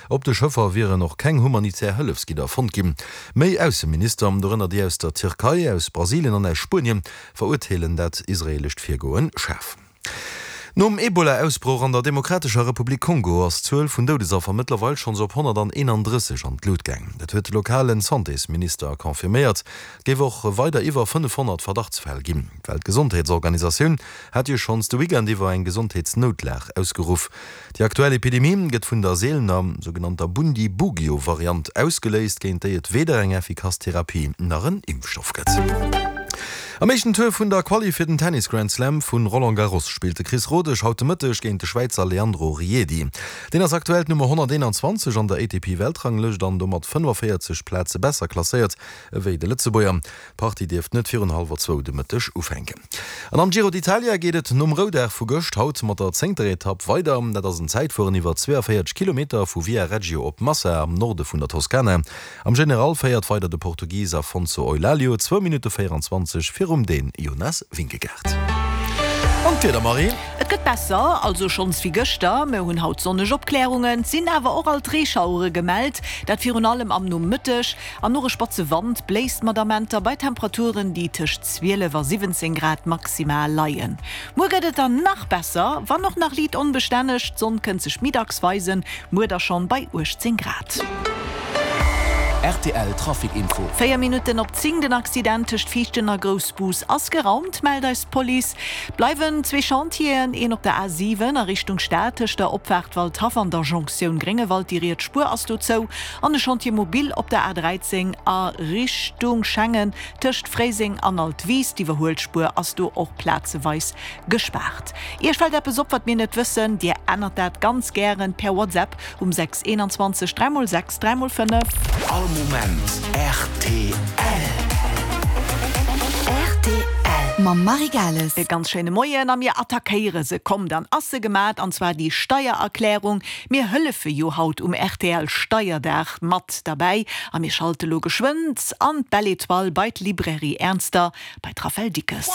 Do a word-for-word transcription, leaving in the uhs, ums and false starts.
Op de Schëffer wieren och keng humanitär Hëllefsgidder fonnt ginn. Méi Ausseminister, dorënner déi aus der Tierkei, aus Brasilien an aus Spuenien, verurteelen dat israeelescht Virgoen schaarf. Nom Ebola-Ausbroch an der Demokratescher Republik Kongo ass d'Zuel vun Doudesaffer mëttlerweil schonns op honnerteenandrësseg an d'Lut gaang. Dat huet de lokale Santésminister confirméiert. Et géif och weider iwwer fënnefhonnert Verdachtsfäll ginn. D'Weltgesondheetsorganisatioun hat jo schonns de Weekend iwwer eng Gesondheetsnoutlag ausgeruff. Déi aktuell Epidemie gëtt vun der seelener sougenannter Bundibugyo-Variant ausgeléist, géint déi et weder eng effikass Therapie nach en Impfstoff gëtt. Am éischten Tour vun der Quali fir den Tennis Grand Slam vu Roland Garros spillt de Chris Rodesch haut de Mëtteg géint de Schwäizer Leandro Riedi. Deen ass aktuell d'Nummer honnerteenanzwanzeg an der A T P-Weltranglëscht an domat fënnefaféierzeg Plaze besser klasséiert ewéi de Lëtzebuerger. D'Partie dierft net virun hallwer zwou de Mëtteg ufänken. An am Giro d'Italia geet et nom Roudag vu gëscht haut mat der zéngter Etapp weider. Dat ass en Zäitfueren iwwer zweeënvéierzeg Kilometer vu Viareggio op Massa am Norde vun der Toskana. Am General féiert weider de Portugis Afonso Eulalio, zwou Minutte véierenzwanzeg virum Dän Jonas Vingegaard. An d'Wieder, Marie? Et gëtt besser, also schonns wéi gëschter. Mir hunn haut sonneg Opklärungen, et sinn awer och alt Reeschauere gemellt, dat virun allem am Nomëtteg. An och e spatze Wand bléist mat Amenter bei Temperaturen, déi tëscht zwielef a siwwenzéng Grad maximal leien. Muer gëtt et dann nach besser, wann och nach liit onbestänneg. D'Sonn kënnt sech méi dacks weisen, muer da schonn bei uechtzéng Grad. R T L Trafic Info. Véier Minutten op zéng, Den Accident tëscht Viichten a Groussbus ass geraumt, mellt eis d'Police. Bleiwen zwee Chantieren, een op der A siwen a Richtung Stad tëscht der Opfaart Waldhaff an der Jonktioun Gréngewald, déi riets Spuer ass do zou, an e Chantier mobile op der A dräizéng a Richtung Schengen tëscht Fréiseng an Altwis, d'Iwwerhuelspuer ass do och plazeweis gespaart. Iech fält eppes op, wat mir net wëssen? Dir ännert dat ganz gären per WhatsApp um sechs eenanzwanzeg dräi mol sechs dräi mol fënnef. All Moment R T L. R T L mam Marie Gales. E ganz schéine Moien a mir attackéiere se. Komm, dann ass se gemat, an zwar déi Steiererklärung. Mir hëllefe jo haut um R T L Steierdag mat derbäi a mir schalte lo geschwënn an d'Belle Étoile bei d'Librairie Ernster bei d'Raphaëlle Dickes.